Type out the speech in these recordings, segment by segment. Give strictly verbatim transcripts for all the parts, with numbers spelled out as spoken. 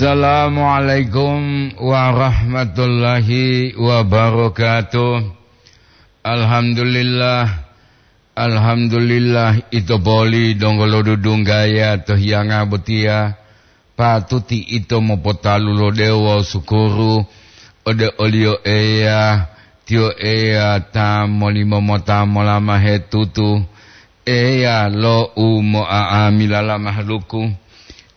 Assalamualaikum warahmatullahi wabarakatuh. Alhamdulillah, alhamdulillah, ito poli donggo lo dudunggaya to hiyanga botiya, patuti ito mopotalu lo dewo sukuru ode oliyo Eya, tiyo Eya ta molimo mota molamahe tutu, Eya lo u mo'a'amilala mahaluku.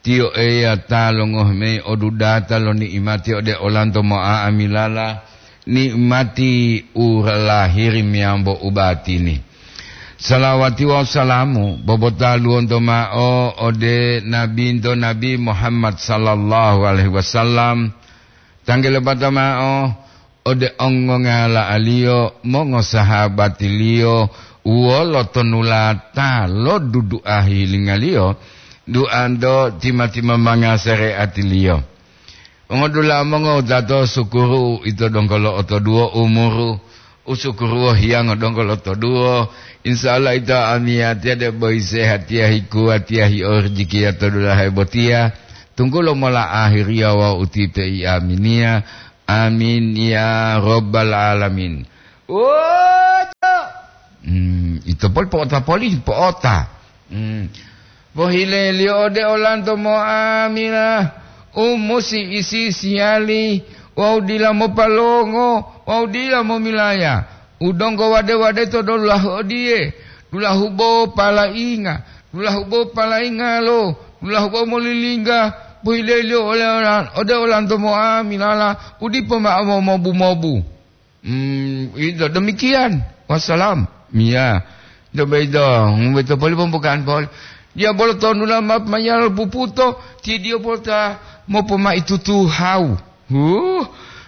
Tiyo Eya ta longohi mayi odudata lo ni'imati ode olanto mo'a'amilala, ni'imati u lahiri meyambo u batini. Salawati wawu salamu bobotaluwonto ma'o ode Nabinto Nabi Muhammad sallallahu alaihi wasallam, tanggelebata ma'o ode ongongala'aliyo, mongosahabatiliyo, wolo tonulata lo dudu'a hilingaliyo, duanto tima-timambanga sareatiliyo. Mongodula'a mongowutato, sukuru ito donggo lo'otoduwo umuru, usukuruwo hiyango donggo lotoduwo. Insya Allah ito amiyatiya debo isehatiya hikuwatiya hiyo rijikiya to dulahe botiya, tunggulo mola ahiriya wawu utipe i aminiya. Amin ya rabbal alamin. Woto! Hmm, ito poli po'ota poli, po'ota. Hmm. Pohileliyo ode olanto mo'amila u musi isi-isiyali wawu dila mopalongo wawu dila momilaya. U donggo wade-wade to dulahu odiye, dulahu bo palainga, dulahu bo palaingalo, dulahu bo molilingga, pohileliyo ole ola-, ode olanto mo'amilala u dipo ma'o mobu-mobu. Hmm, ito demikian. Wassalam. Iya. Coba ito, hmm, ito poli pembukaan poli. Dia bolo tonu lama mayal puputo, ti dia bolo ta mopomai tutu hau. Huh,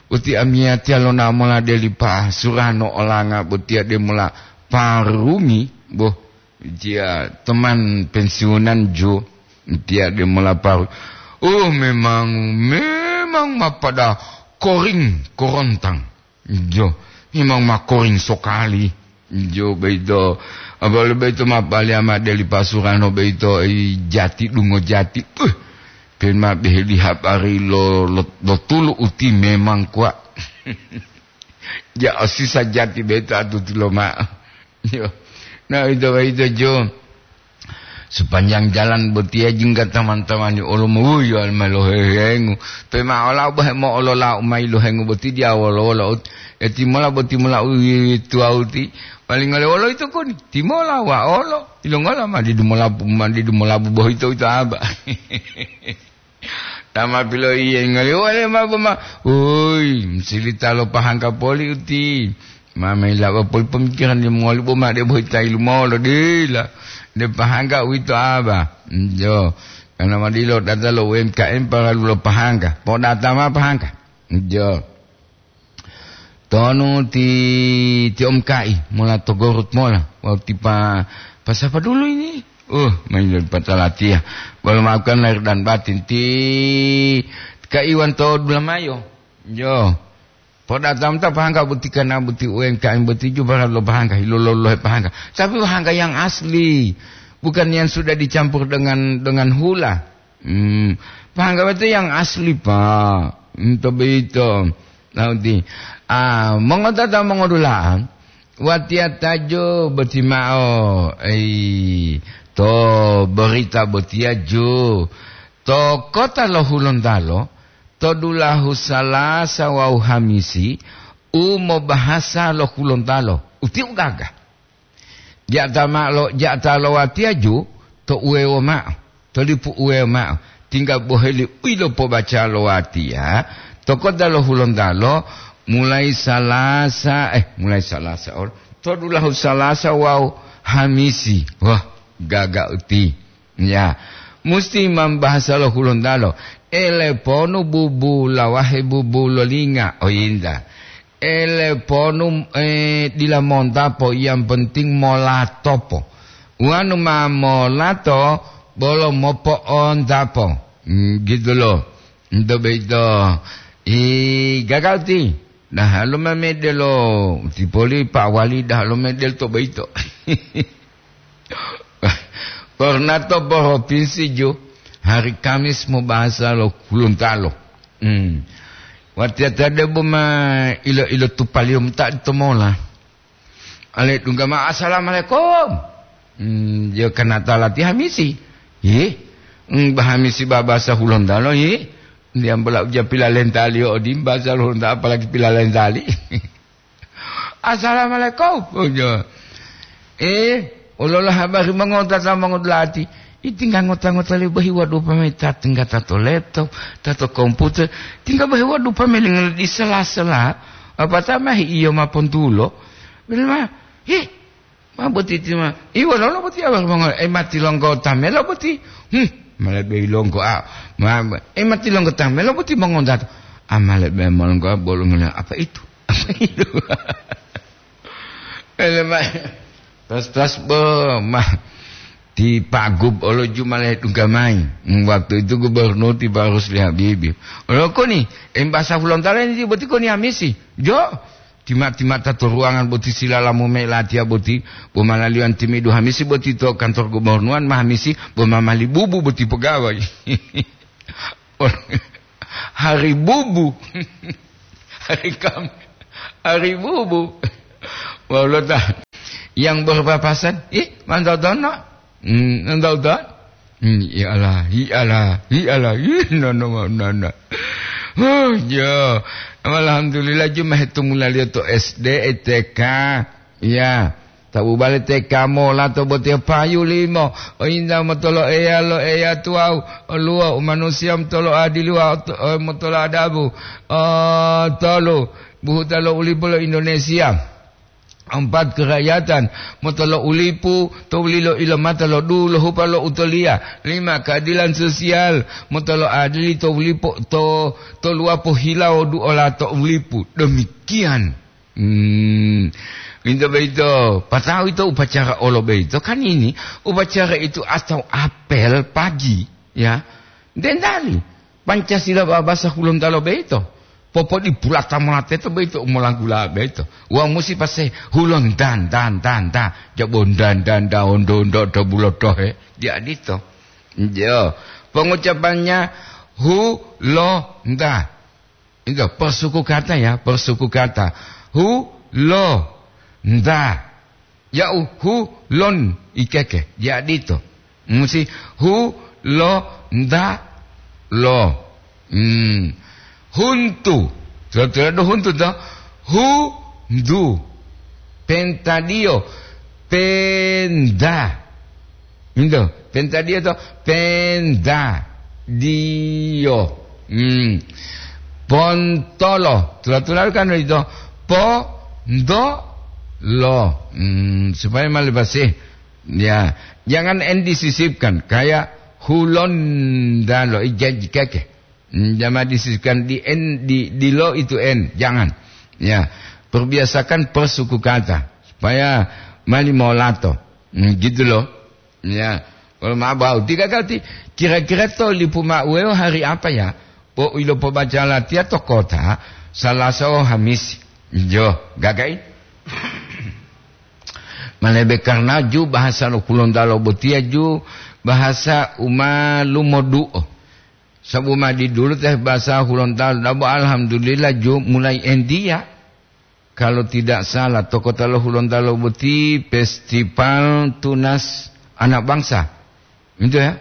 uti amiyatiya lona mola deli pa surano olanga botiya de mola parumi, boh, dia teman pensiunan jo, dia de mola paru. Oh, memang, memang ma pada koring korontang. Jo, memang ma koring sokali. Jo, beito. Abalo beito ma pali ama deli pasurano beito, i jati dungo jati. Uh, pen ma beheli habari lo, lo, lo tulu uti memang kuwa. Ja, o sisa jati beito atuti loma'o. Yo. Na, ito, ito, jo. Sepanjang jalan botiya jingga taman-tamani olo mowuyo alma lohehengu. Pe ma ola bohe mo olola umai lohengu boti diya wolo-wolo. Eti mola boti mola uwi tuwauti. Paling ole wolo ito koni. Timola wa olo. Ilongola ma didu molabu, ma didu molabu bohito ito aba. Tama piloiye ngoli wale ma boma. Ui, silita lo pahangka poli uti. Ma mailawa poli pemikiran limongoli boma de bohita ilumolo dila. De pahangka uwito aba. Jo. Karena madilo data lo U M K M paralu lo pahangka. Po data ma pahangka. Jo. Tonu ti, ti omkai mola to Gorut mola. Wawu ti pa, pasapa dulu ini? Uh, main dari patalatiya. Walau maafkan lahir dan batin ti Kaiwan to Dulamayo. Jo. Podatam ta pahangka buti kana buti U M K M buti ju para lo pahangka, hilo lo lohe pahangka. Tapi pahangka yang asli. Bukan yang sudah dicampur dengan, dengan hula. Hmm, pahangga itu yang asli, Pak. Ento boyito. Lauti. Ah, mongotata mongodula'a, watiya tajo boti ma'o, ei, to berita botiya jo. To kota lo Hulontalo, to dulahu Salasa wawu Hamisi, u mobahasa lo Hulontalo. Uti u gaga. Ja'ata ma'o lo, ja'ata lo watiya ju to uwewo ma'o, to lipu uwewo ma'o, tingga boheli u yilopobaca lo watiya to kota lo Hulontalo, mulai Salasa, eh, mulai Salasa olo, to dulahu Salasa wawu Hamisi. Wah, gaga uti. Ya, musti mambahasa lo Hulontalo. Ele ponu bubu lawahe bubu lolinga, oyinta. Ele ponu, eh, dila montapo, yang penting molatopo. Wanu ma molato, bolo mopo'ontapo. Hmm, gitu loh. Ento boyito, i, gaga uti. Dahalo ma medelo, uti poli Pak Wali dahalo medelo to boyito. Korna to provinsi ju, Hari Kamis mo bahasa lo Gorontalo. Hmm. Watiyata debo ma ilo-ilo tupaliyo mota to mola. Ale dungga ma, "Assalamualaikum." Hmm, yo kanata lati Hamisi. Ye. Hmm, ba Hamisi ba bahasa Gorontalo, ye. Dia bola uja pilalentaliyo odi bahasa Gorontalo, apalagi pilalentali. "Assalamualaikum." Ojo. Eh, olola habari mongota ta mongodulati. Itingga ngota-ngota lebo hiwa dupa me ta tingga ta to laptop, ta to komputer. Tingga ba hiwa dupa me lingal di sela-sela. Apa ta mahi iyo ma pontulo. Bilma, "Hi, ma boti ti ma. Iwa lolo boti awal mongo. Eh, mati longgo tamelo boti." Hmm, male be longgo a. Ma, eh, mati longgo tamelo boti mongondato. Amale be molonggo bolongnya apa itu? Apa itu? Ele ma, tas-tas bo, ma, ti Pak Gub olo jumale tunggamai. Hmm, waktu itu gubernur ti Barus Lihabibi. Olo koni, embasa Fulontalo ini boti koni amisi. Jo, tima-tima ta to ruangan boti silalamu me latiya boti, bo malaliwan timidu Hamisi boti to kantor gubernuran ma Hamisi, bo mamali bubu boti pegawai. Hari bubu. Hari Kam-, hari bubu. Wau lo ta yang berpapasan, ih, mantau tono. Hmm, mantau tono. Hmm, ya Allah, ya Allah, ya Allah. Ih, no, no, no, no. Oh, yo. Alhamdulillah, cuma hitung mulai to S D, T K. Ya. Tabu bale teka mola to botiya payu limo. O inta motolo eya lo eya tuwawu. O luwo u manusiya motolo adiliwa o to-, o motolo adabu. O tolu, buhuta lo ulipu lo Indonesia. Empat, kerakyatan motolo ulipu to wulilo ilomata lo duhu lo hupa lo utoliya. Lima, keadilan sosial motolo adili to wulipu to, to luwapo hilawo duola to wulipu. Demikian. Hmm, ito boyito, pata'u ito upacara olo boyito, kan ini upacara itu atau apel pagi, ya. Dendali, Pancasila babasa Hulontalo boyito, popodipulata mola teto boyito u molanggula boyito. Wa musi pase Hulontan, tan, tan, tan, jabon dan, dan, daon, don, do, do, bulo, dohe, dia dito. Jo, pengucapannya Hulonta. Itu, persuku kata ya, persuku kata. Hu, lo, nda. Ya'u hu, lon, ikeke. Jadi itu. Musi hu, lo, nda, lo. Hmm. Huntu. Sudah-sudah do huntu to. Hu, ndu. Pentadiyo. Penda. Pinto, pentadio to, penda, dio. Hmm. Pontolo, tula-tula kan itu, po, ndo, lo. Hmm, supaya malah bersih. Ya, jangan N disisipkan, kayak Hulondalo, ijanji keke. Hmm, jangan disisipkan di N, di, di lo itu N, jangan. Ya, perbiasakan persuku kata, supaya mali molato. Hmm, gitu loh. Ya, kalau mau bau. Tiga kali, kira-kira to lipu ma'uwewo hari apa ya? Po ilo pobaca latiya to kota, Salasa o Hamis. Jo, gagai? Malebe karena ju bahasa lo Kulontalo botiya ju bahasa uma lumodu'o. Sabu madi dulu teh bahasa Hulontalo, dabo alhamdulillah ju mulai endiya. Kalau tidak salah, to kota lo Hulontalo boti festival tunas anak bangsa. Itu ya.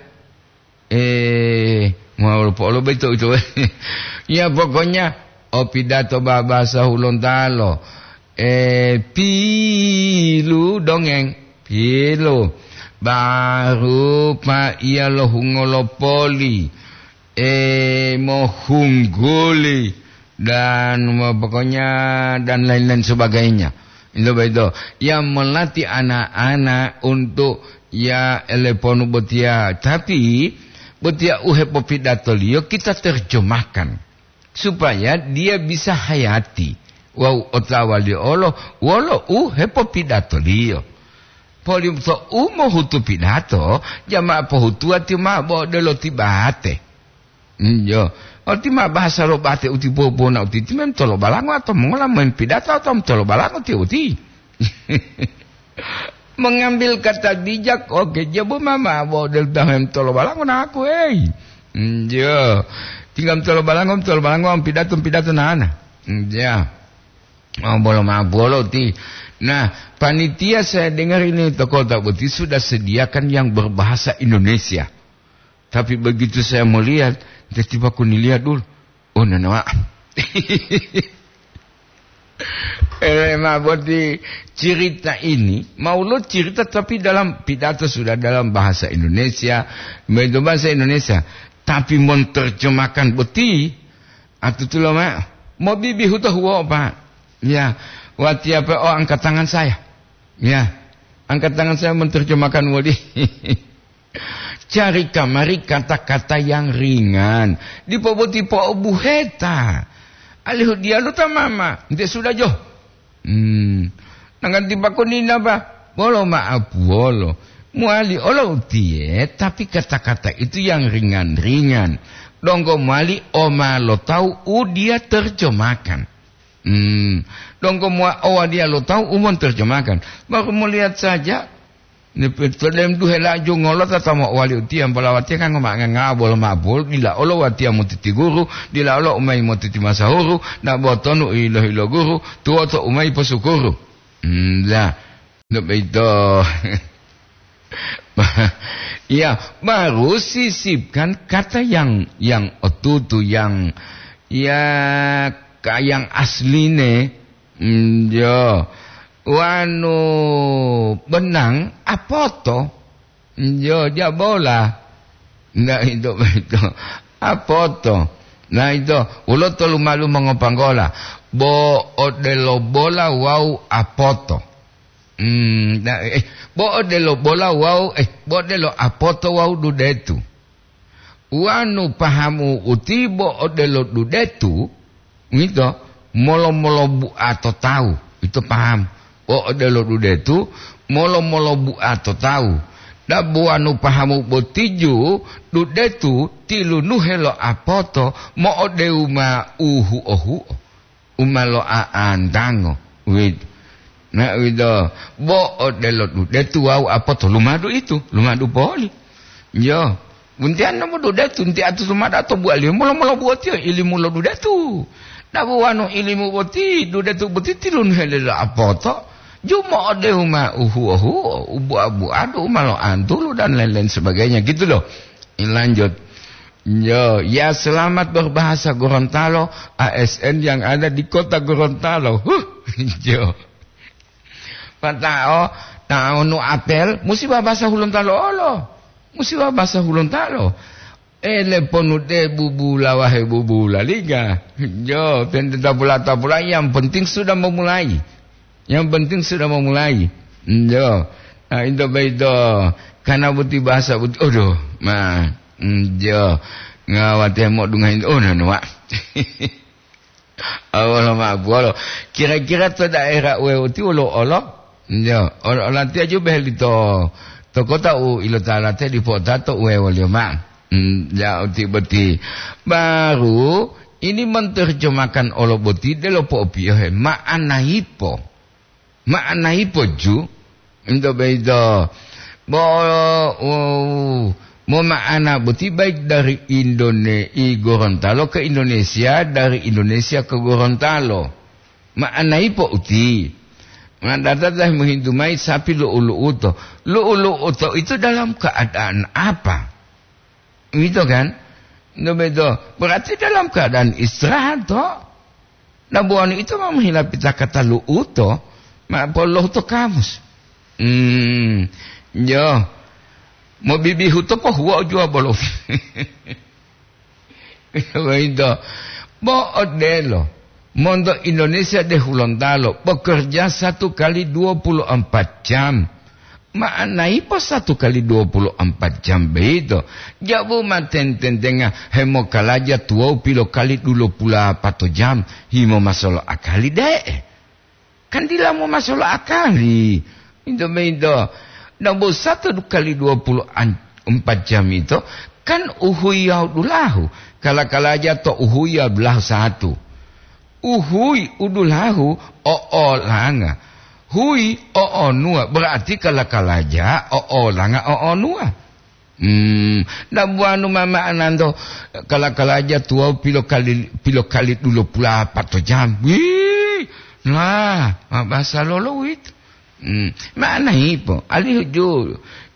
Eh, mau lupa lo betul itu. Ya, pokoknya, oh, pidato bahasa Hulontalo. Eh, pilu dongeng. Pilu. Baru pa iya lo hungolo poli. Eh, mohungguli, dan, wah, pokoknya, dan lain-lain sebagainya. Itu begitu. Yang melatih anak-anak untuk, ya, eleponu botia. Tapi, botia uhepopidatoliyo kita terjemahkan. Supaya dia bisa hayati. Wau otawa liyo olo, wolo uhepopidatoliyo. Poli to umohutu pidato, jama'a pohutuwa tiyo ma'o bo odelo tibate. Iyo. Oti ma bahasa lo bate uti popona uti, ti mem tolo balango atau mongola mem pidato atau tolo balango ti uti. Mengambil kata bijak, oke, jabo mama bo del dahem tolo balango na aku, hei. Njo. Tinggal tolo balango, tolo balango, pidato, pidato nana. Ya. Oh, bolo ma bolo ti. Nah, panitia saya dengar ini toko tak boti sudah sediakan yang berbahasa Indonesia. Tapi begitu saya melihat, tiba-tiba aku nilihat dulu. Oh, nana, Wak. Eh, ma boti cerita ini, mau lo cerita tapi dalam pidato sudah dalam bahasa Indonesia, itu bahasa Indonesia. Tapi menterjemahkan boti, atutulo ma, mau bibi huto huo, Pak. Ya, wati apa, oh, angkat tangan saya. Ya, angkat tangan saya menterjemahkan wodi. Cari kamari kata-kata yang ringan. Dipo boti po'obuheta. Alihu diyalu ta mama, nte sudah jo. Hmm. Nanggan tipa konina ba, bolo ma'apuwolo. Muali olo utiye, tapi kata-kata itu yang ringan-ringan. Donggo muali oma lo tawu u dia terjemahkan. Hmm. Donggo mua owa dia lo tawu u monterjemahkan. Baru melihat saja, to dem duhe laju ngolota ta mo'owali utiya, polawatiya kan ngoma ngangawa bolo ma'o bolo, dila olo watiya motiti guru, dila olo umayi motiti masahuru, na botonu ilo-ilo guru, tuwoto umayi posukuru. Hmm, la. Untuk itu. Iya, baru sisipkan kata yang, yang otutu, yang, ya, ka-, yang asline. Hmm, yo. Wanu benang apoto. Hmm, yo, jabola. Ndak itu, itu. Apoto. Nah, itu. Ulo tolu malu mongopanggola. Bo odelo bola wau apoto. Hmm, ndak, eh, bo odelo bola wau, eh, bo odelo apoto wau dudetu. Wanu pahamu uti bo odelo dudetu, ngito, molo-molo bua to tawu, ito paham. Bo odelo dudetu, molo-molo bua to tawu. Dabo wanu pahamu botiju, dudetu tilunuhe lo apoto, mo'odewu ma uhuo-huo. U ma lo'a'antango, uwito. Na uwito, bo odelo dudetu wawu apoto lumadu itu, lumadu poli. Yo, wuntiya nomu dudetu, nti atu lumadu ato buwaliyo molo-molo buwotiyo ilimu lo dudetu. Na bo wanu ilimu boti, dudetu boti tilunhele lo apoto, ju mo'odehu ma uhuo-huo, u bua-buadu, u ma lo'antulu, dan lain-lain sebagainya, gitu loh. Lanjut. Yo, ya selamat berbahasa Gorontalo, A S N yang ada di kota Gorontalo. Huh, yo. Pata'o, ta'onu apel, musi babasa Hulontalo olo. Musi babasa Hulontalo. Ele ponu de bubula wahe bubula liga. Yo, pente tapula-tapula, yang penting sudah memulai. Yang penting sudah memulai. Njo. Nah, into boyito. Karena boti bahasa boti, aduh, ma, njo. Ngawate modunga into, oh, nanu, Wak. Awolo ma buwolo. Kira-kira to daerah uwe uti wolo olo? Njo. Olo, olatiya ju beheli to, to kota u ilota late dipo tato uwe woliyo ma. Hmm, ya, uti boti. Baru, ini menerjemahkan olo boti delo po'opiyohe. Ma'ana hipo. Ma'ana hipo ju, into boyito. Bo, uh, mo ma'ana boti baik dari Indone-, i Gorontalo ke Indonesia, dari Indonesia ke Gorontalo. Ma'ana hipo uti. Ma'ana tata mohintu mayi sapi lu'u-lu'uto. Lu'u-lu'uto itu dalam keadaan apa? Gitu kan? Begitu. Berarti dalam keadaan istirahat, toh? Nah, buwanu itu ma mohilapita kata lu'uto, ma polohu to kamus. Hmm, yo. Mobibihu to pohuwa ujuwa bolo. Begitu. Bo odelo. Monto Indonesia de Hulontalo, bekerja satu kali dua puluh empat jam. Ma'anai po satu kali dua puluh empat jam boyito? Jabu ma ten-tentenga hemokalaja tuwawu pilokali dulopulapato jam, himo masolo akali de'e? Kan dila mo masolo akali. Into boyito, nabo satu kali dua puluh empat jam ito, kan uhuyi wawu dulahu. Kala-kalaja to uhuyi wawu dulahu satu. Uhuyi u dulahu o olanga. Kui o'onuwa, berarti kala-kalaja o'olanga o'onuwa. Hmm, dabuwanu mama ananto kala-kalaja tuwawu pilokali, pilokali dulopulapato jam. Wih, nah, ma basa lolo uwito. Hmm, ma'ana hipo, alihu ju,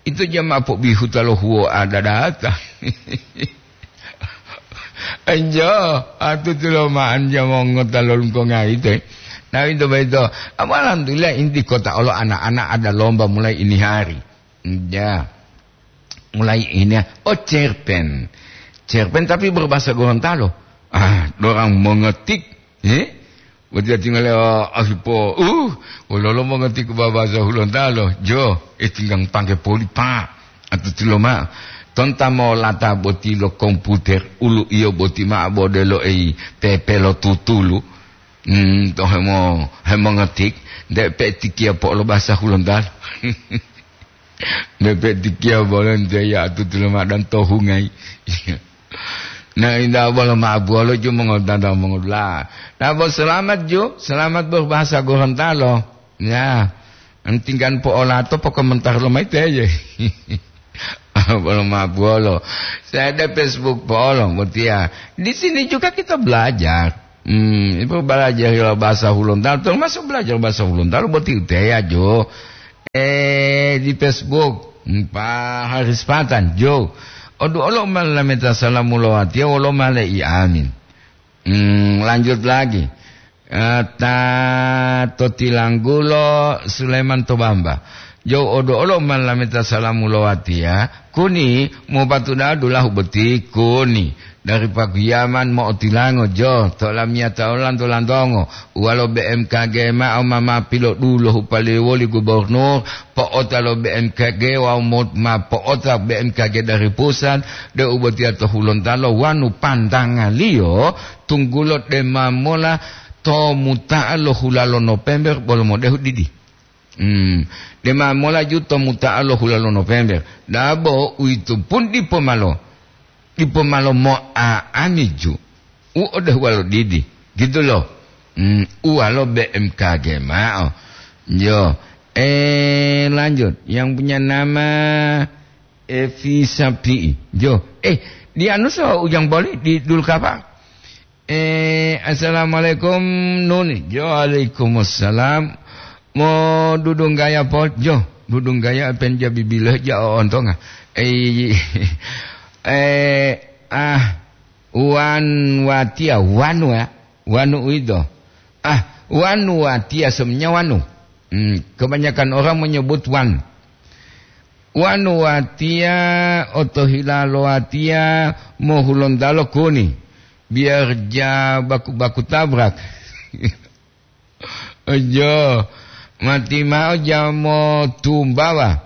ito jama pobihuta lo huwo adadata. Enjo, atu tuloma'an jama ngota lo lungkonga ito. Nah, ito baito. Apa alhamdulillah inti kota olo anak-anak ada lomba mulai ini hari. Ya. Mulai ini, oh, cerpen. Cerpen tapi berbahasa Gorontalo. Ah, dorang mengetik, eh? Boti tinggal, ah, asipo, uh, wololo mengetik bahasa Hulontalo. Jo, eh, tinggang pangke poli, Pak. Atau tiloma. Tonta mo lata boti lo komputer, ulu iyo boti ma bodelo ei pepe lo tutulu. Hmm, to hemo, hemongetik, de pe tikia po lo bahasa Hulontalo. Nepe tikia bolon teya atutu lomadan to hungai. Na inda bolo mabuolo ju mongodada mongodula. Na bo selamat ju, selamat berbahasa Gorontalo. Ya, tinggan po olato poko mentar lomai teye. Bolo mabuolo. Saya ada Facebook polo, botia. Di sini juga kita belajar. Hmm, itu belajar bahasa Hulontalo, termasuk belajar bahasa Hulontalo, boti uteya jo. Eh, di Facebook, hmm, Pak Haris Patan, jo. Odu olo ma lameta salamu lo watiya, wolo ma le i amin. Hmm, lanjut lagi. Eh, ta to tilanggulo Sulaiman to Bamba. Jo odu olo ma lameta salamu lo watiya, kuni mo patuda dulahu boti kuni. Dari pagiyaman mo'otilango jo, to lamiyata olanto-lantongo, uwalo B M K G ma'o ma, ma pilodulo hupaliyo woli gubernur, po'ota lo B M K G wawu mo-, ma po'ota B M K G dari pusat, de'u botiya to Hulontalo wanu pandangaliyo, tunggulo dema mola to muta'a lo hula lo Nopember bolo modehu didi. Hmm, dema mola ju to muta'a lo hula lo November. Dabo uwito pun dipo malo, dipo malo mo'a'ami ju. U odehuwa lo didi, gitu lo. Hmm, uwalo B M K G ma'o. Jo, eh, lanjut. Yang punya nama Evi Sapi'i. Jo, eh, di anu so ujang boli di dulu kapa? Eh, assalamualaikum, Nuni. Jo, waalaikumsalam. Mo dudunggaya po, jo, dudunggaya penja bibile ja o ontonga. Eh, eh, ah, wan watia, wanu ya, wanu uido. Ah, wanu watia semuanya wanu. Hmm, kebanyakan orang menyebut wan. Wanu watiya, otohila lo watiya, mo Hulontalo kuni. Biar ja baku-baku tabrak. Ojo, mati mao ja mo tumbawa.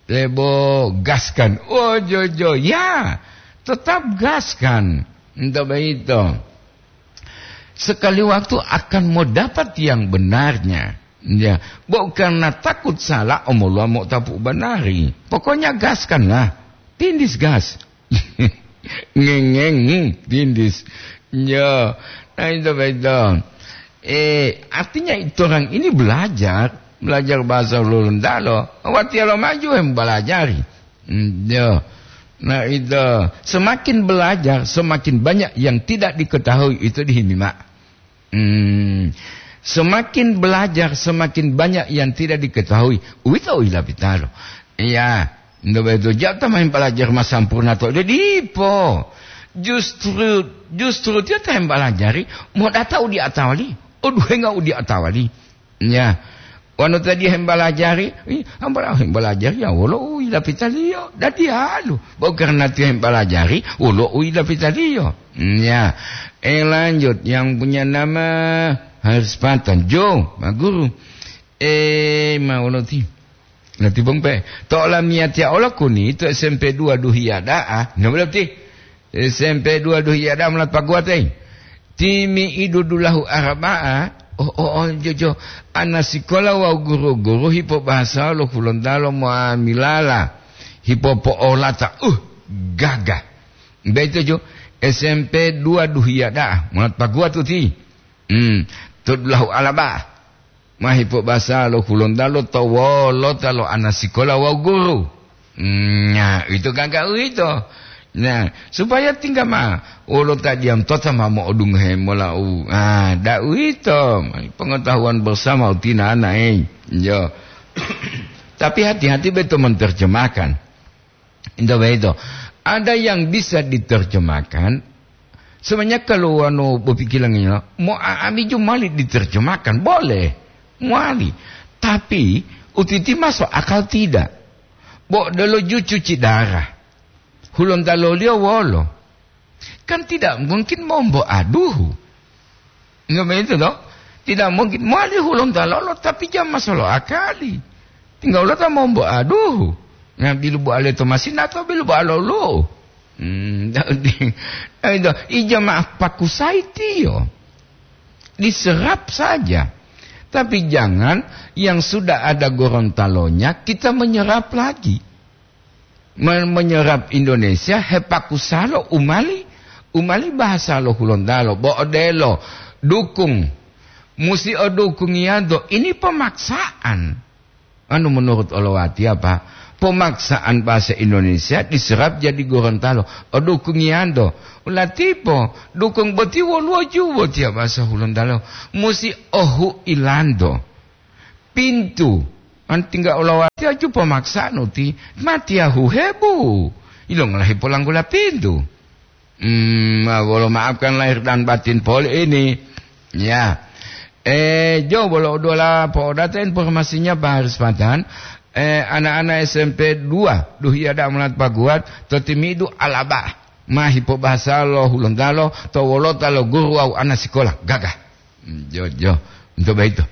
Lebo gaskan. Ojo, jo, ya. Tetap gaskan. Entah begitu. Sekali waktu akan mau dapat yang benarnya. Ya, bukan karena takut salah, omoluwa mo'otapu banari. Pokoknya gaskanlah. Tindis gas. Ngengeng, hmm, tindis. Ya, nah itu betul. Eh, artinya itu orang ini belajar, belajar bahasa Hulontalo. Watiya lo maju yang belajari. Hmm, ya. Nah, itu semakin belajar, semakin banyak yang tidak diketahui itu dihimima. Hmm, semakin belajar, semakin banyak yang tidak diketahui. Uwito u yilapitalo. Iya, ndo beto ja ta main belajar ma sampurna to. Jadi po. Justru, justru tiyo ta hembelajari, mo data u di atawali, o duhenga u di atawali. Ya. Wanu tadi hembalajari, ih, hambala hembalajari ya wolo u yilapitaliyo. Dadi alu, bo karena tiyo hembalajari, wolo u yilapitaliyo. Hmm, ya. Eh, lanjut, yang punya nama Haris Patan. Jo, ma guru. Eh, ma wolo ti. Lati bongpe. To olamiyatiya olo kuni to S M P dua Duhiya da'a. Nggak boleh ti. S M P dua Duhiya da'a mulat paguwate. Timi'idu dulahu Araba'a. Oh, oh, oh, jo, jo. Ana sikola wawu guru-guru hipobahasa lo Hulontalo mo'amilala. Hipopo'olata. Uh, gagah. Beto jo. S M P dua Duhiya da'a. Mulat paguwatu ti. Hmm. To dulahu Alaba. Ma hipobasa lo Hulontalo to wolota lo anasikola wawu guru. Nah, ito gaga uwito. Nah, supaya tingga ma wolo ta diam tota ma mo'odungohe mola u. Ah, da uwito. Pengetahuan bersama utina ana, eh. Yo. Tapi hati-hati beto menerjemahkan. Ito beto. Ada yang bisa diterjemahkan. Sebenarnya kalau wano berpikiran ini, mau a-, ami jumali diterjemahkan, boleh. Muali. Tapi, utiti masuk akal tidak. Bo delo ju cuci darah. Hulontaloliyo wolo. Kan tidak mungkin mombo aduhu. Enggak begitu, toh? Tidak mungkin. Muali Hulontalolo, tapi jam masolo akali. Tinggal lo ta mombo aduhu. Ngambil buah leto masina atau bil buah lolo. Hmm, jadi, itu, ijamaah pakusai tiyo. Diserap saja. Tapi jangan yang sudah ada Gorontalonya kita menyerap lagi. Men-, menyerap Indonesia, hepakusalo umali, umali bahasa lo Hulontalo, bo odelo, dukung, musi odukungiyanto, ini pemaksaan. Anu menurut olowati apa? Pemaksaan bahasa Indonesia diserap jadi Gorontalo. Odukungiyanto. Ulatipo, dukung boti woluwo ju boti ya bahasa Hulontalo. Musi ohu ilanto. Pintu. An tingga olowati aju pemaksaan uti. Matiyahu hebu. Ilongolahi polanggula pintu. Hmm, ma-, bolo maafkan lahir dan batin poli ini. Ya. Eh, jo, bolo udola po'odata informasinya, Pak Haris Patan. Eh, anak-anak S M P dua, duhiya da mulat paguat, to timidu alaba. Mahi pobahasa lo Hulontalo, to wolota lo guru wawu ana sikola. Gagah. Hmm, jo, jo. Untuk begitu.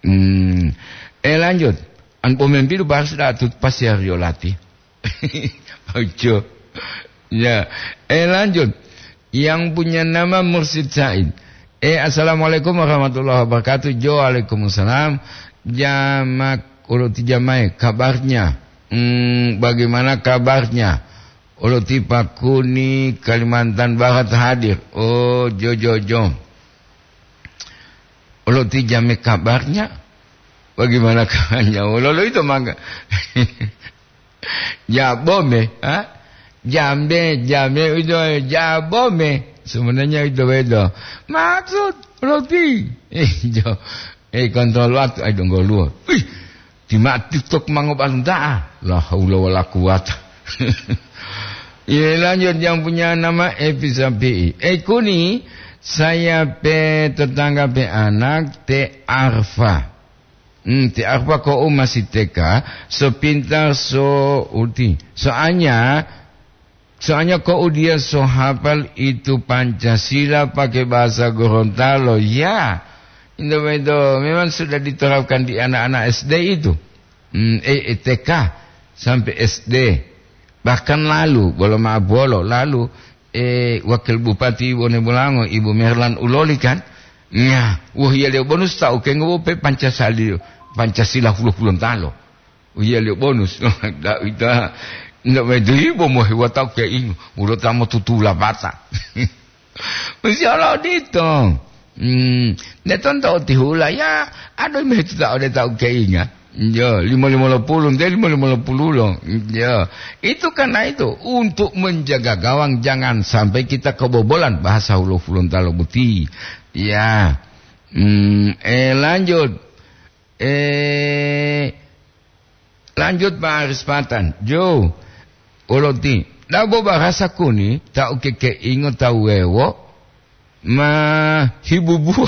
Hmm. Eh, lanjut. An pomimpidu bahas da tut pasiar yolati. Ojo. Ya. Eh, lanjut. Yang punya nama Mursid Said. Eh, assalamualaikum warahmatullahi wabarakatuh. Jo, waalaikumsalam. Jamak, uloti jamai, kabarnya? Hmm, bagaimana kabarnya? Uloti Pakuni, Kalimantan Barat hadir. Oh, jo, jo, jo. Uloti jame kabarnya? Bagaimana kabarnya? Ulolo itu mangga. Jabome, ha? Jambe, jambe itu jabome. Sebenarnya itu beda. Maksud roti. Eh, jo. Eh, kontrol waktu, ayo dong goluo. Wih, di mati tok mango balunta'a. La haula wala quwata. Iya, lanjut yang punya nama Epi Sapi'i. Eh, Kuni, saya pe tetangga pe anak te Arfa. Hmm, ti apa ko u masih T K, so pintar, so uti. Soalnya, soalnya ko u dia so hafal itu Pancasila pakai bahasa Gorontalo. Ya, itu, itu memang sudah diterapkan di anak-anak S D itu. Hmm, eh, eh, T K sampai S D. Bahkan lalu, bolo maaf bolo, lalu, eh, Wakil Bupati Wonebolango, Ibu Merlan Uloli kan, nya, wohiyaliyo bonus tau kengo pe Pancasila, Pancasila hulo-hulontalo. Wohiyaliyo bonus. Ndak ita, ndak medu ibo mohe watau keingo, ulo tamo tutula bata. Masya Allah, odito. Hmm, ne tonto otihula, ya, ado mehetuta ode tau keinga. Ya, lima lima puluh, nte lima lima puluh lo. Ya, itu karena itu, untuk menjaga gawang, jangan sampai kita kebobolan bahasa hulo Hulontalo boti. Ya. Hmm, eh, lanjut. Eh, lanjut, Pak Aris Patan. Jo, oloti. Dabo bahasa Kuni, tau kekeingo tau wewo, ma hibubuwa.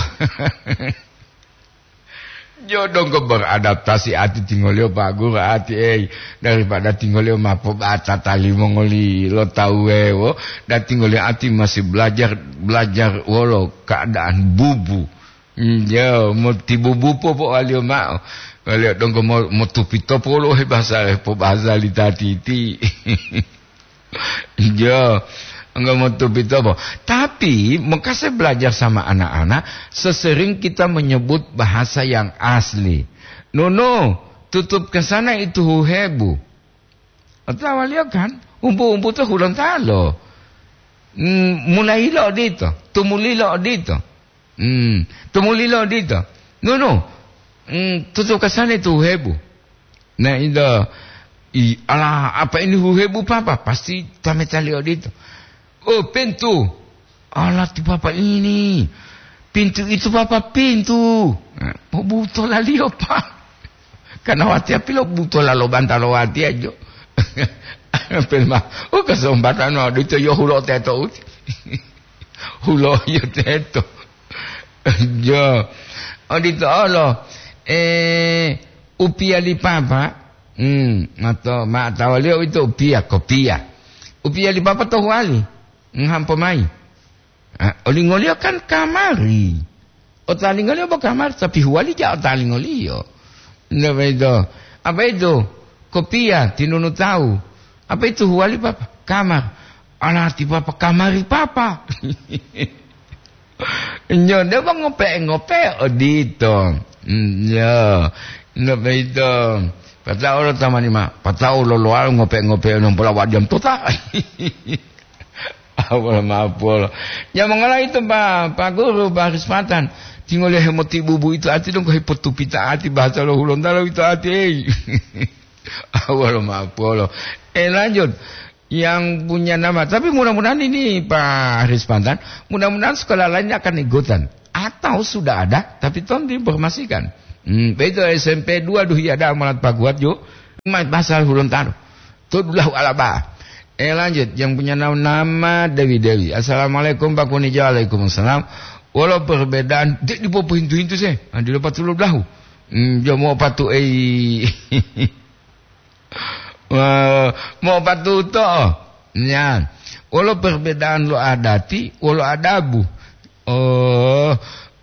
Jo donggo beradaptasi ati tingoliyo, Pak Guru, ati, ei, daripada tingoliyo ma pobatata limongoli lo tau wewo, dan tingoliyo ati masih belajar, belajar wolo keadaan bubu. Njo, mo tibubu popo waliyo mao. Waliyo donggo mo, mo tupito polo he bahasa, he po bahasa li tatiti. Njo, enggak mo tupito po. Tapi, maka saya belajar sama anak-anak, sesering kita menyebut bahasa yang asli. Nono, tutup ke sana itu huhebu. Otawa liyo kan, umpu-umpu to Hulontalo. Hmm, mulai lo odito, tumuli lo odito. Hmm, tumuli lo odito. Nunu, Hmm, tutu kasane tu hebu. Nah, indo, i, ala, apa ini huhebu, Papa? Pasti tametali odito. Oh, pintu. Ala ti Papa ini. Pintu itu, Papa, pintu. Nah, pobutola liyo, Pak. Karena watiya pilo butola lo bantalo watiya jo. Pelma, oh, kesempatan odito yo hulo teto uti. Hulo yo teto. Jo. Odito olo. Eh, upiya li Papa. Hmm, mato, ma tawaliyo ito upiya, kopiya. Upiya li Papa to huwali. Nghampo mayi. Ah, olingoliyo kan kamari. Otalingoliyo bo kamari, tapi huwali ja otalingoliyo. Nda boyito. Apa itu? Kopiya, tinunu tawu. Apa itu huwali, Papa? Kamar. Ala ti Papa, kamari Papa. Nyo, nde bo ngope-ngope odito. Nyo, nda boyito. Pata'o lo tamani ma, pata'o lo loalo ngope-ngope nompola wadiam tota. Awal mapolo. Ya, mongala itu, Pak, Pak Guru, Pak Rispatan. Tinggal ya hemotibubu itu ati dong, kok hipotupita ati bahasa lo Hulontalo itu ati, ei. Awal mapolo. Eh, lanjut. Yang punya nama. Tapi mudah-mudahan ini, Pak Rispatan, mudah-mudahan sekolah lain akan ikutan. Atau sudah ada, tapi tolong diinformasikan. Hmm, begitu S M P dua Duhiada Amalat Paguat, yuk. Mas bahasa Hulontalo. Todulahu alaba. Eh, lanjut, yang punya na-, nama Dewi Dewi. "Assalamualaikum, Pak Kunijo." "Waalaikumsalam." "Wolo perbedaan?" Dek dipopohintu-hintu se. Ah, dilo patulo blahu. Hmm, jo mo patu, ei. Wah, mo patuto. Ya. "Wolo perbedaan lo adati, wolo adabu?" Oh,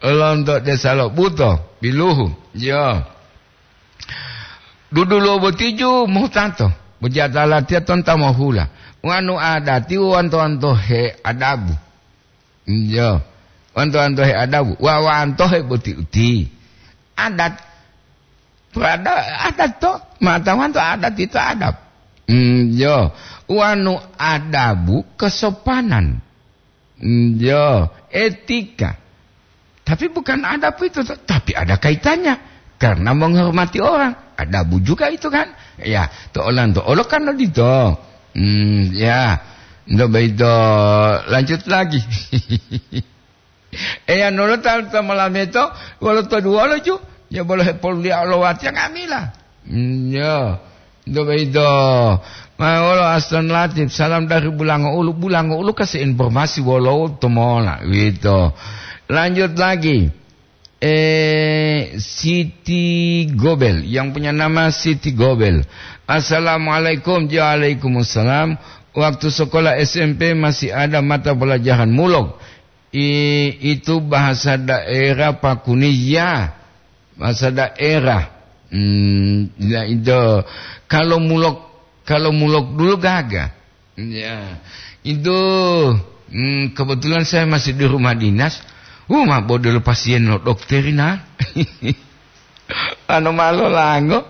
lonto desa lo buto, biluhu. Yo. Dudulo botiju mohutato, bojata latiya tonta mohula. Wanu adati wanto-wanto he adabu. Yo. Wanto-wanto he adabu. Wawanto he boti uti. Adat. Perada-, adat to. Mata wanto adat itu adab. Hmm, yo. Wanu adabu kesopanan. Hmm, yo, etika. Tapi bukan adab itu, tapi ada kaitannya. Karena menghormati orang. Adabu juga itu kan. Ya, to olan to olo kan odito. Hmm, ya. Ndo begitu, lanjut lagi. Eya nolo ta, ta malameto, wolo to duwolo ju. Ya bolo hepoluliya olowati yang amila. Hmm, ya. Ndo boyito, ma wolo Aston Latif, salam dari Bulango Ulu. Bulango Ulu kasih informasi wolo to mola, gitu. Lanjut lagi. Eh, Siti Gobel, yang punya nama Siti Gobel. "Assalamualaikum." "Waalaikumsalam." "Waktu sekolah S M P masih ada mata pelajaran mulok. I-, itu bahasa daerah Pakuni." Ya, bahasa daerah. Hmm, ya itu. Kalau mulok, kalau mulok dulu gaga. Ya, itu, hmm, kebetulan saya masih di rumah dinas. Uh, ma bodelo pasien lo dokter ina. Ano malo lango,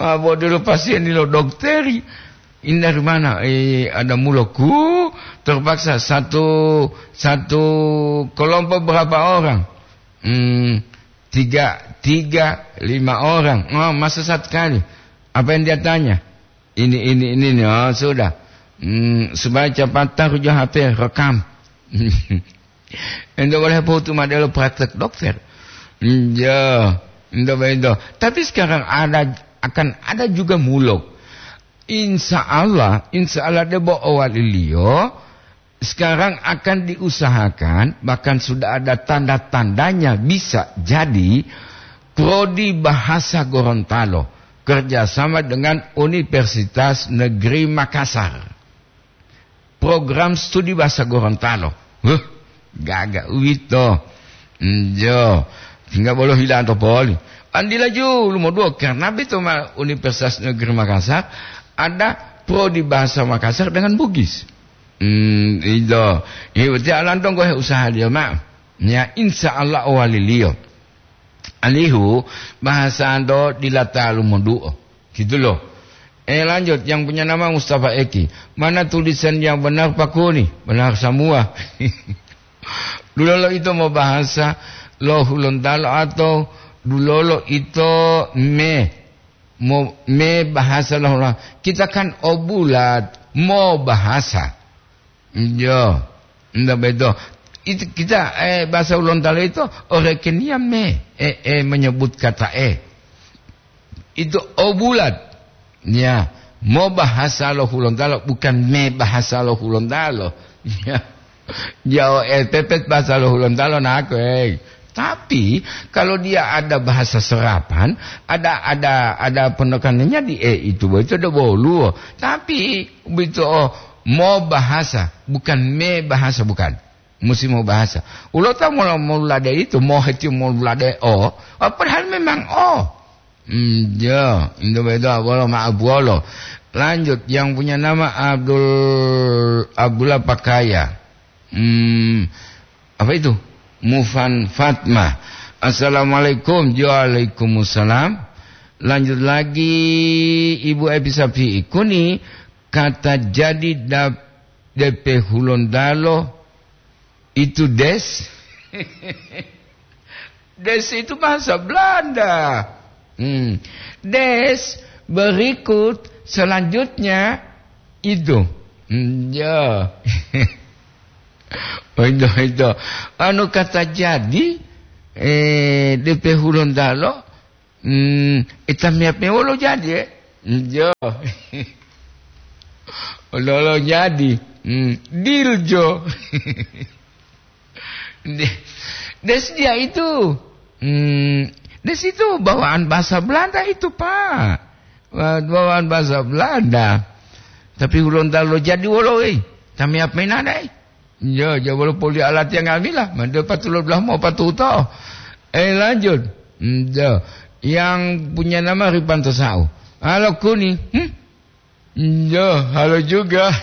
ma bodelo pasien lo dokter. Ini dari mana? Eh, ada muloku, terpaksa satu, satu kelompok berapa orang? Hmm, tiga, tiga, lima orang. Oh, masa satu kali. Apa yang dia tanya? Ini, ini, ini, ini. Oh, sudah. Hmm, supaya cepat taruh H P, rekam. Ento boleh pohutu madelo praktek dokter. Hmm, ya, ento begitu. Tapi sekarang ada, akan ada juga mulok. Insya Allah, insya Allah debo owaliliyo, sekarang akan diusahakan, bahkan sudah ada tanda-tandanya bisa jadi, Prodi Bahasa Gorontalo kerjasama dengan Universitas Negeri Makassar. Program studi Bahasa Gorontalo. Huh, gaga uwito. Njo, tinggal bolo hilanto poli. Andila ju lumoduo, karena beto ma Universitas Negeri Makassar ada Prodi Bahasa Makassar dengan Bugis. Hmm, itu. Ini berarti alam dong gue usaha dia, Mak. Ya, insya Allah owaliliyo. Alihu, bahasa ando dila talu moduo. Gitu loh. Eh, lanjut, yang punya nama Mustafa Eki. Mana tulisan yang benar, Pak Kuni? Benar semua. Dulu lo itu mau bahasa lo Hulontalo atau Dulolo ito me, mo, me bahasa lo Hulo-, kita kan o bulat, mo bahasa. Iyo, ndak beto. Itu kita, eh, bahasa Hulontalo itu orekenia me, eh, eh, menyebut kata eh. Itu o bulat. Ya, mo bahasa lo Hulontalo, bukan me bahasa lo Hulontalo. Ya. Jao, eh, pepet bahasa lo Hulontalo nako, eh. Tapi kalau dia ada bahasa serapan, ada, ada, ada penekanannya di e itu, itu ada boluwo. Tapi begitu, oh, mo bahasa, bukan me bahasa, bukan. Musi mo bahasa. Ulo ta mo, mo lade itu, mo heti mo lade o, oh, padahal memang o. Hmm, ya, itu betul, bolo maaf bolo. Lanjut, yang punya nama Abdul, Abdullah Pakaya. Hmm, apa itu? Mufan Fatma. Assalamualaikum. Waalaikumsalam. Lanjut lagi, Ibu Epi Sapi. Kuni kata jadi dap-, D P Hulontalo itu des. Des itu bahasa Belanda. Hmm. Des, berikut, selanjutnya, itu. Hmm, ya. Oh, itu, itu. Anu kata jadi, eh, D P Hulontalo, hmm, ita miap mewolo jadi, eh? Hmm, ya. Olo-olo jadi. Hmm, diljo. De-, des dia itu. Hmm, des itu bawaan bahasa Belanda itu, Pak. Ba-, bawaan bahasa Belanda. Tapi Hulontalo jadi wolo, eh. Tami apa inana, eh? Ya, ya, wolo poli alati yang ngamila. Mande patulo belah mau patuto. Eh, lanjut. Hmm, ya. Yang punya nama Ribanto Sau. Halo, Kuni. Hmm? Iya, halo juga.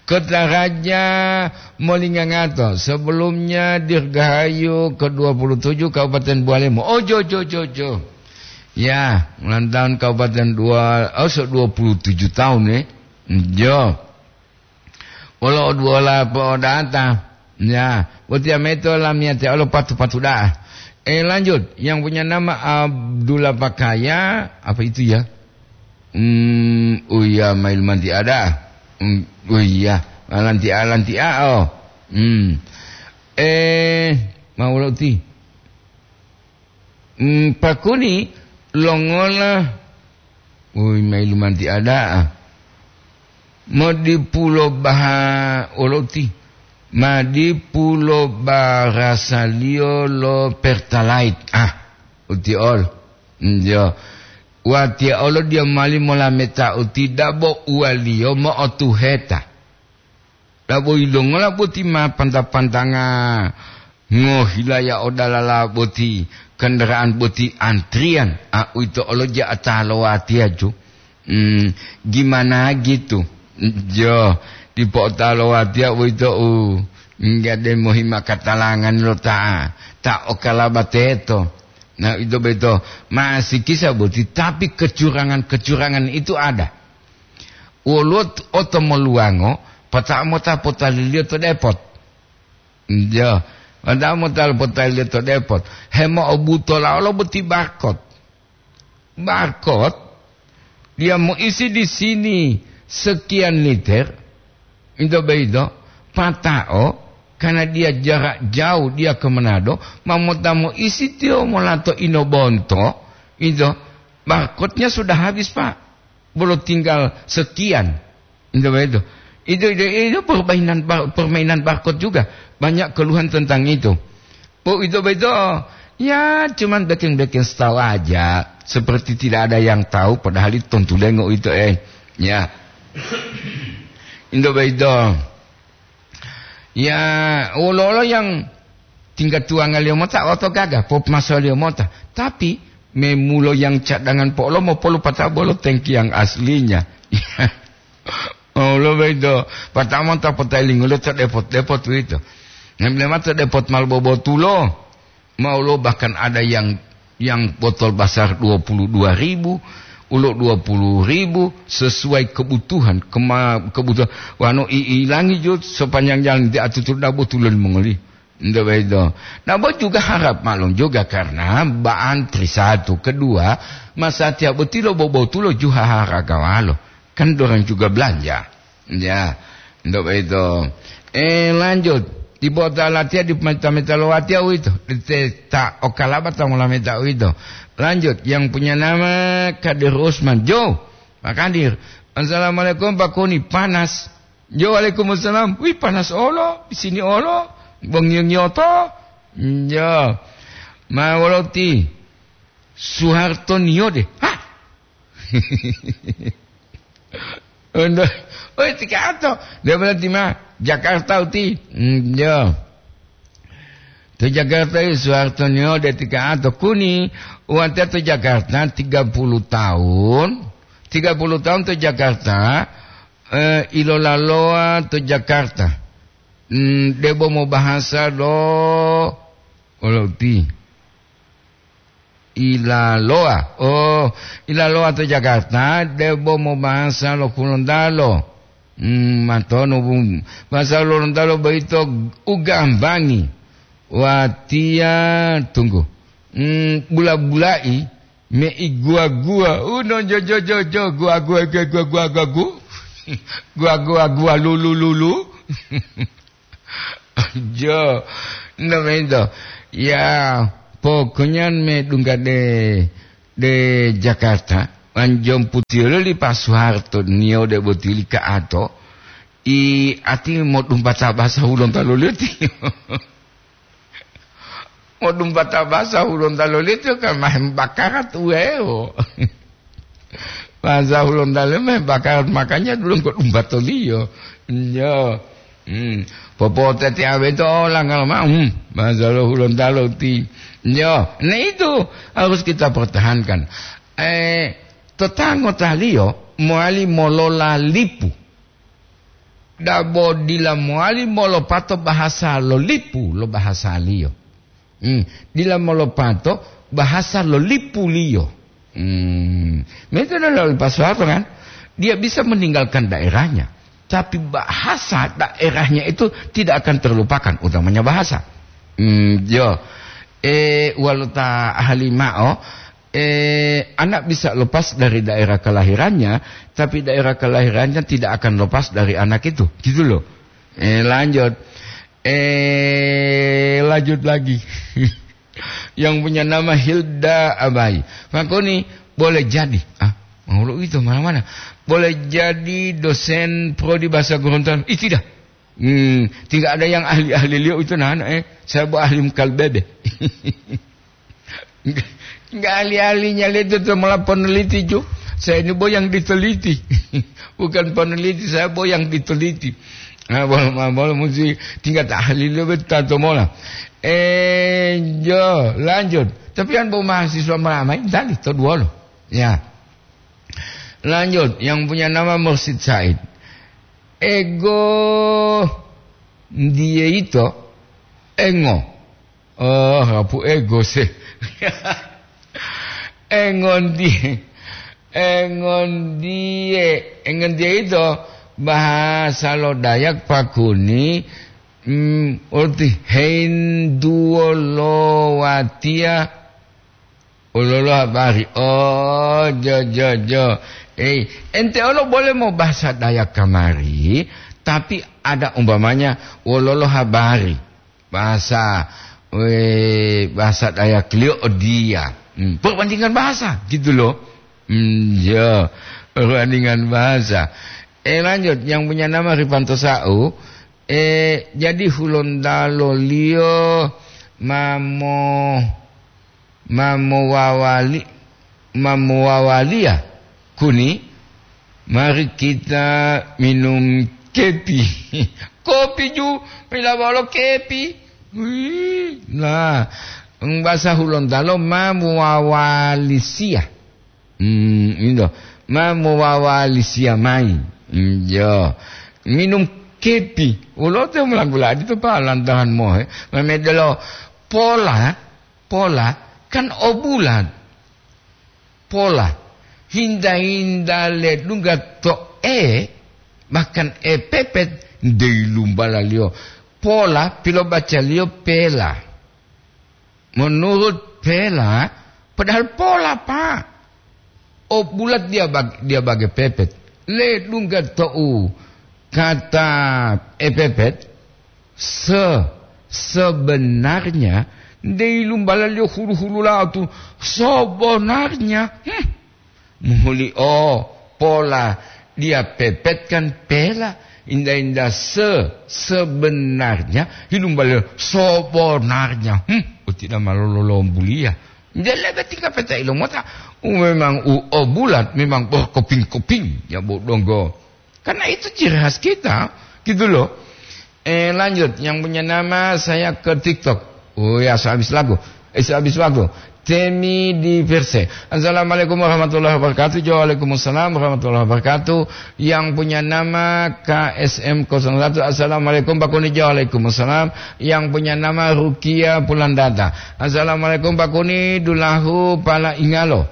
Kota Raja Molingangato, sebelumnya Dirgahayu ke dua puluh tujuh Kabupaten Bualemo. Oh, jo, jo, jo, jo. Ya, ulang tahun Kabupaten Dua, oh, so dua puluh tujuh tahun, eh. Jo. Wolo oduwola po'odata. Ya, botiya meto lamiyatiya olo patu-patu da'a. Eh, lanjut, yang punya nama Abdullah Pakaya, apa itu ya? Hmm, oh iya, mail manti ada. Hmm, oh iya, lanti a, lanti a, oh. Hmm. Eh, mau lo ti. Hmm, pakuni longola, woi, mailu manti ada'a. Modipulo baha oloti, madipulo barasaliyo lo Pertalite. Ah, uti ol. Njo. Watiya olo diya mali molameta uti dabo uwaliyo mo'otuheta. Dabo yilongola boti ma panta-pantanga ngohilaya o dalala boti, kendaraan boti antrian, a, uwito olo ja'ata lo watiya ju. Hmm, gimana gitu? Jo, dipo'ota lo watiya uwito u nggade mohima katalangan lo ta, ta okalaba teto. Nah, ito beto masih kisah boti, tapi kecurangan-kecurangan itu ada. Woluwo t-, otomoluwango, pata'o mota potaliliyo to depot. Njo, pata'o mota potaliliyo to depot. Hemo'obutola olo boti barkot. Barkot, dia moisi di sini sekian liter, ito boyito, pata'o, karena dia jarak jauh, dia ke Manado, ma mota moisi tiyo molato inobonto, ito, barkotnya sudah habis, Pak. Bolo tinggal sekian. Itu begitu. Itu, itu, itu permainan bar-, permainan barcode juga. Banyak keluhan tentang itu. Oh, itu begitu. Ya, cuman bikin-bikin style aja. Seperti tidak ada yang tahu, padahal itu tontu lengo itu, eh. Ya. Itu begitu. Ya, wolo-wolo yang tingga tuwangaliyo mota oto gaga, popmasoliyo mota. Tapi, memulo yang cadangan po'olomo polu pata'o bolo tengki yang aslinya. Olo bedo, pata'o mota potayilingulo to depot-depot uwito. Nemlema to depot mal bobotulo. Maulo bahkan ada yang, yang botol basar dua puluh dua ribu, ulo dua puluh ribu, sesuai kebutuhan, kema-, kebutuhan. Wano i-, ilangi jo sepanjang jalan di atutur dabo tulon mongoli. Ndak begitu. Nah, bo juga harap maklum juga karena ba antri satu, kedua, masatiya boti lo bobotulo juha haragawalo. Kan dorang juga belanja. Ya, ndak begitu. Eh, lanjut. Di bota latihan di meta-meta lo watiya uwito. Di te-, ta okalaba ta mola meta uwito. Lanjut, yang punya nama Kadir Usman. Jo, Pak Kadir. "Assalamualaikum, Pak Kuni. Panas." Jo, "Waalaikumsalam. Wih, panas olo. Di sini olo. Bongio-ngioto." Jo. "Ma woloti?" "Suharto niyode." "Hah?" Uwito, "Oi, ti ka'ato." "Dia berarti ma Jakarta uti." Hmm, jo. To Jakarta, Suharto niyode ti ka'ato. "Kuni, watiya to Jakarta tiga puluh tahun. Tiga puluh tahun to Jakarta, eh, ilolalowa to Jakarta. Hmm, debo mobahasa lo, olo uti." Ilalowa. Oh, ilalowa to Jakarta, debo mobahasa lo Hulontalo. Hmm, matonu, bu-, bahasa Hulontalo boyito ugambangi. Watiya, tunggu. Hmm, bula-bulai, me iguwa-guwa. Uno jo, jo, jo, jo, guwa-guwa, guwa-guwa, guwa-guwa, gu. Guwa-guwa, guwa, lulu, lulu. Jo, namento. Ya, pokoknya me dungga de, de Jakarta, wan jomputiyolo li Pak Soeharto niyode boti li ka'ato, i ati modumpata basa Hulontalo leti. Modumpata basa Hulontalo leti kan mahem bakarat uweo. Bahasa Hulontalo mah bakat, makanya dulu engko dumbatoliyo. Yo. Hmm. Popotete awe to langgal ma, hmm. Bahasa lo Hulontalo ti. Yo. Nah, itu harus kita pertahankan. Eh, tetangotaliyo mowali molola lipu. Dabo dila mowali molopato bahasa lo lipu lo bahasaliyo. Hmm, dila molopato bahasa lo lipuliyo. Hmm, itu adalah lepas apa kan? Dia bisa meninggalkan daerahnya, tapi bahasa daerahnya itu tidak akan terlupakan, utamanya bahasa. Hmm, yo. Eh, walau ta ahli mao, eh, anak bisa lepas dari daerah kelahirannya, tapi daerah kelahirannya tidak akan lepas dari anak itu. Gitu loh. Eh, lanjut. Eh, lanjut lagi. Yang punya nama Hilda Abai. Pak Koni, boleh jadi. Ah, mau lo itu mana-mana. Boleh jadi dosen prodi bahasa Gorontalo. Ih, tidak. Hmm, tidak ada yang ahli-ahli liyo itu, nah, eh. Saya bu ahli mukal bebe. Enggak ahli-ahlinya liyo itu malah peneliti, ju. Saya ini bo yang diteliti. Bukan peneliti, saya bo yang diteliti. Nah, bolo, bolo mesti tingkat ahli lebih tato mola. Eh, jo, lanjut. Tapi kan bo mahasiswa meramai, tadi, to dua lo. Ya. Lanjut, yang punya nama Mursid Said. Ego, dia itu, engo. Oh, apu ego sih. Engondiye, engondiye, engondiye itu bahasa lo Dayak Pakuni, mm, orti henduwo lo watiya ololo habari. Oh, jo, jo, jo. Eh, ente olo boleh mau bahasa Dayak kamari, tapi ada umpamanya wololo habari. Bahasa, eh, bahasa Dayak liyo dia. Hmm, perbandingan bahasa, gitu loh. Hmm, ya, perbandingan bahasa. Eh, lanjut, yang punya nama Rifanto Sau. Eh, jadi Hulontalo liyo mamo-, mamowawali, mamowawaliya kuni, mari kita minum kepi. Kopi ju, mila bolo kepi. Wih, nah, bahasa Hulontalo mamowawalisiya. Hmm, itu. Mamowawalisiya mai. Hmm, yo. Minum kepi. Ulo te mulanggu ladi to pa lantahan mohe. Memedelo pola, pola kan obulan. Pola. Hinda-hinda ledungga to e, bahkan e pepet, dei lumbalaliyo. pola pilobacaliyo pela. Menurut pela, padahal pola, Pak. O bulat dia bag-, dia bage pepet. Ledungga to'u kata epepet, se-, sebenarnya, dei lumbalaliyo hulu-hulula'o tu, sebenarnya. Hmm. Muhuli o pola dia pepet kan pela, inda-inda se-, sebenarnya, hilumbaliyo sebenarnya. Hmm, uti dama lololombuliya. Nde lebe tingga peta ilomota, u memang u o bulat, memang berkeping-keping, ya, bo donggo. Karena itu ciri khas kita, gitu loh. Eh, lanjut, yang punya nama saya ke TikTok. Oh ya, habis lagu. Eh, habis waktu. Temi di Perse. Assalamualaikum warahmatullahi wabarakatuh. Waalaikumsalam warahmatullahi wabarakatuh. Yang punya nama K S M kosong satu. Assalamualaikum, Pak Kuni. Waalaikumsalam. Yang punya nama Rukia Pulandata. Assalamualaikum, Pak Kuni. Dulahu pala ingalo.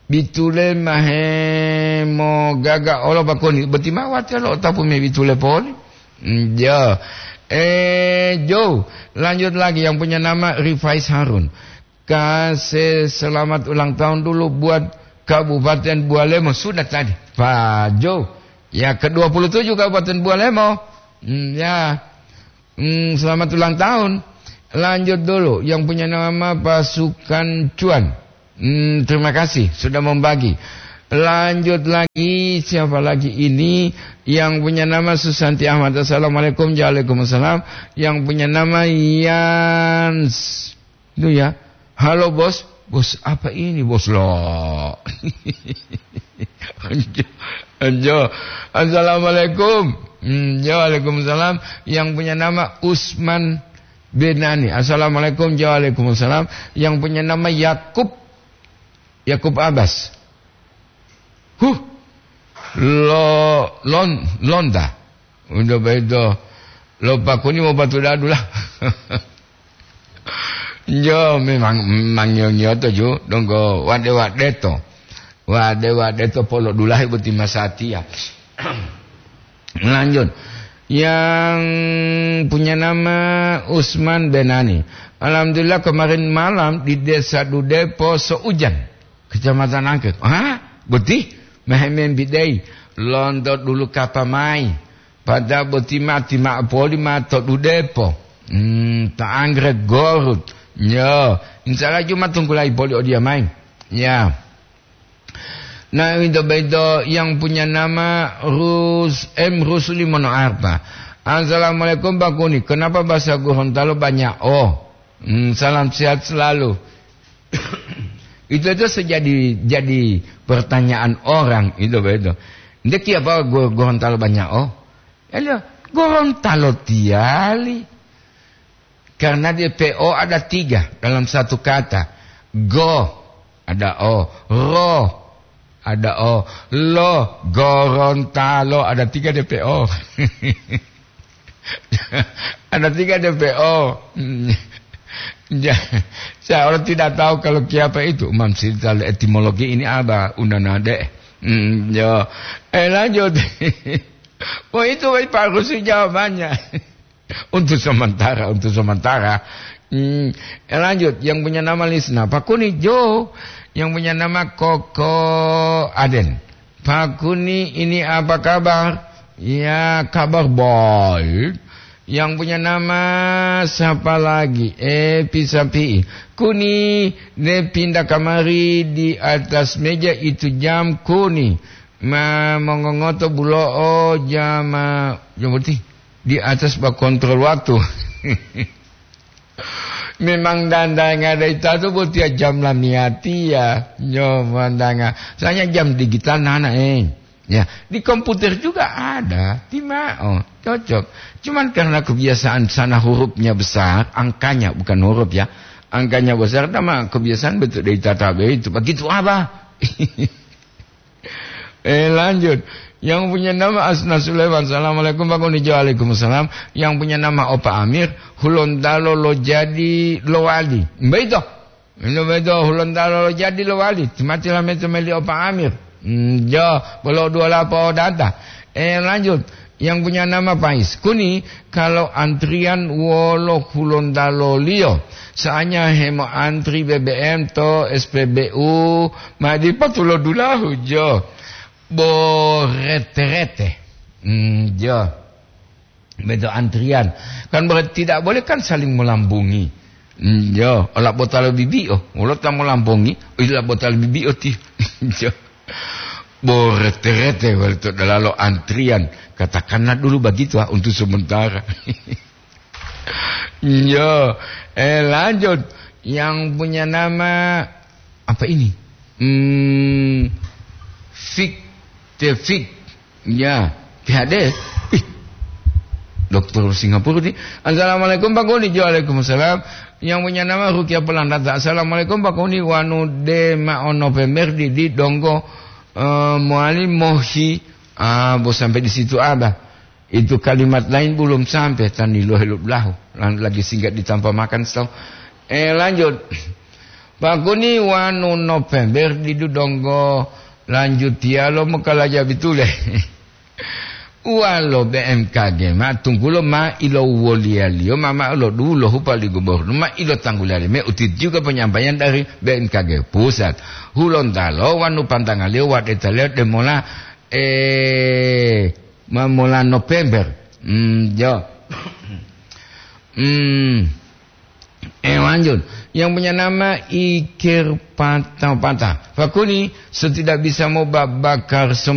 Bitule mahe mogaga olo bakoni. Boti ma watiya lo otapu me bitule poli. Mm, ya. Eh, Jo, lanjut lagi yang punya nama Rifais Harun. Kasih selamat ulang tahun dulu buat Kabupaten Bualemo. Sudah tadi, Pak Jo. Ya, ke dua puluh tujuh Kabupaten Bualemo. Mm, ya. Hmm, selamat ulang tahun. Lanjut dulu, yang punya nama Pasukan Cuan. Hmm, terima kasih sudah membagi. Lanjut lagi, siapa lagi ini? Yang punya nama Susanti Ahmad. Assalamualaikum. Waalaikumsalam. Yang punya nama Yans. Itu ya. Halo, Bos. Bos apa ini, Bos, lo? Anjo, anjo. Assalamualaikum. Hmm, ya, waalaikumsalam. Yang punya nama Usman Benani. Assalamualaikum. Ya, waalaikumsalam. Yang punya nama Yakub. Yakub Abbas. Huh. Lo-, lon-, londa. Udah begitu. Lo pakuni mau batu dadu lah. Yo, memang, memang nyo-nyoto ju, donggo wade-wade to. Wade-wade to polo dulahe boti masatiya. Lanjut. Yang punya nama Usman Benani. Alhamdulillah, kemarin malam di Desa Dudepo seujan. Kecamatan Angke. Hah? Boti? Mehemem bidei. Lonto dulu kapa mai. Pada boti mati ma poli ma to Dudepo. Hmm, ta anggrek gorut. Yo, insya Allah Jumat tungkulai poli odia mai. Ya. Nah, itu beto yang punya nama Rus-, M Rusli Mono Arpa. Assalamualaikum, Pak Kuni. Kenapa bahasa Gorontalo banyak? Oh, hmm, salam sehat selalu. Itu aja sejadi, jadi pertanyaan orang, itu begitu. Ndeki apa Go-, Gorontalo banyak? Oh, ya, Gorontalo tiali. Karena dia P O ada tiga dalam satu kata. Go, ada O. Ro, ada O. Lo, Gorontalo, ada tiga D P O. Ada tiga D P O. Hmm. Ja-, saya orang tidak tahu kalau kiapa itu. Mam cerita etimologi ini apa? Undana de. Hmm, yo. Eh, lanjut. Oh, itu, Pak Rusli jawabannya. Untuk sementara, untuk sementara. Hmm, lanjut, yang punya nama Lisna. Pak Kuni Jo, yang punya nama Koko Aden. Pak Kuni, ini apa kabar? Ya, kabar baik. Yang punya nama siapa lagi? Eh, Pisapi. Kuni, ne pindah kamari di atas meja itu jam Kuni. Ma mongongoto bulo'o jama, jam berarti di atas ba kontrol waktu. Memang dandanga dai tatu botiya jam lamiyatiya, nyo mandanga. Soalnya jam digital nana, eh. Ya, di komputer juga ada, timao, cocok. Cuman karena kebiasaan sana hurufnya besar, angkanya bukan huruf ya, angkanya besar, nama kebiasaan betul dari tata itu. Begitu apa? Eh, lanjut. Yang punya nama Asna Sulaiman. Assalamualaikum, Pak Kunijo. Waalaikumsalam. Yang punya nama Opa Amir, Hulontalo lo jadi lowali. Beito. Ino beito, Hulontalo lo jadi lowali. Timati lameto meli Opa Amir. Hmm, jo, bolo dua lapo data. Eh, lanjut. Yang punya nama Pais. Kuni, kalau antrian wolo Hulontalo liyo, soalnya hemo antri B B M to S P B U, madi patulo dulahu jo. Bo rete-rete. Hmm, jo. Bedo antrian. Kan berarti tidak boleh kan saling melambungi. Hmm, jo, ola botalo bibi oh, wolo ta melambungi, ola botalo bibi oh ti. Jo. Bo rete-rete wali to dalalo antrian. Katakanlah dulu begitu ah, untuk sementara. Yo, eh, lanjut. Yang punya nama apa ini? Hmm, Fik, Tefik. Ya, P H D. Ih, dokter Singapura nih. Assalamualaikum Pak Kuni. Waalaikumsalam. Yang punya nama Rukia Pelandata. Assalamualaikum Pak Kuni. Wanu de ma'o November di, di donggo, eh, mowali mohi. Ah, bo sampai di situ ada. Itu kalimat lain belum sampai, tani lo helu belahu. Lan-, lagi singkat ditampa makan, so. Eh, lanjut. Pakuni wanu November didu donggo lanjut tialo mokalaja bitule. Uwalo B M K G ma tunggulo ma ilo woliyaliyo ma, ma lo dulo hupa li gubernur ma ilo tangguliyaliyo me utit juga penyampaian dari B M K G pusat. Hulontalo wanu pantangaliyo wadetaliyo demola, eh, Mamola November. Hmm, yo. Hmm. Eh, lanjut. Yang punya nama Iker Patah-Patah. Pakuni, setidak bisa mau ba-, bakar sumber